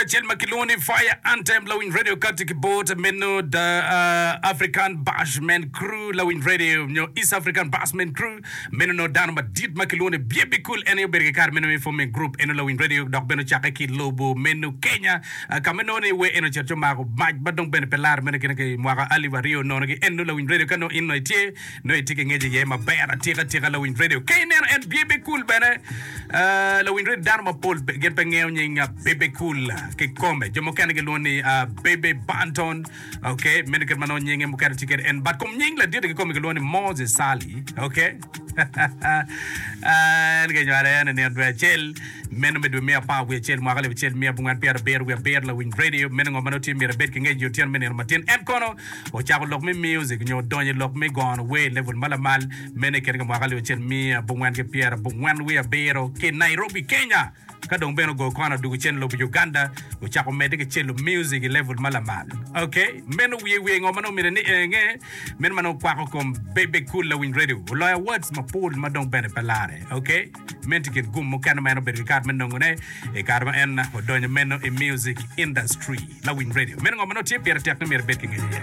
acel ma kilwongo ni Fire Anthem Lawiny Radio kati ki bot meno The uh, African Bashman Crew Lawiny Radio nyo East African Bashman Crew meno nongo dano madit ma kilwongo ni Bebe Cool en aye obedo ki kare meno me forming group eno Lawiny Radio dok bene ocakke ki lobo meno Kenya uh, ka ma nongo ni wer eno ocito ci omako mac ma dong bene pe laro meno kine ki mwaka alip aryo nono ki eno Lawiny Radio ka nongo in nongo itye Nongo itye ki ngec iye maber atika tika lawiny radio. Ka ineno en Bebe Cool bene, uh, lawiny radio dano mapol gin pe ngeyo nying uh, Bebe Cool kikome. Jo mukene gilwongo ni uh, Bebe Banton. Okay, meno kit ma nongo nyinge mukene tye kwede en. But kom nying ladit kikome gilwongo ni Moses Sali. Okay. En kinywale en i nino dwe acel meno me dwe me apar wiye acel mwaka 1977 lawiny radio meno ngo ma nongo tye myero ibed ki ngec i otyeno me nino matin en kono Ocako lok me music nyo odonyo i lok me gono wer i level ma lamal meno i kine ka mwaka 1997 ki Nairobi, Kenya. Ka dong bene ogoyo kona odwogo cen i lobo Uganda, ocako medde ki celo music i level ma lamal. Ok, meno wiye wiye ngo ma nongo myero ni enge, meno ma nongo kwako kom Bebe Cool Lawiny Radio. Oloyo awards mapol ma dong bene pe lare. Ok, meno tye kin gum mukene ma en obedo ki kare me nongone i kare ma en odonyo meno i music industry. Lawiny Radio. Meno ngo ma nongo tye pire tek ni myero ibed ki ngec iye.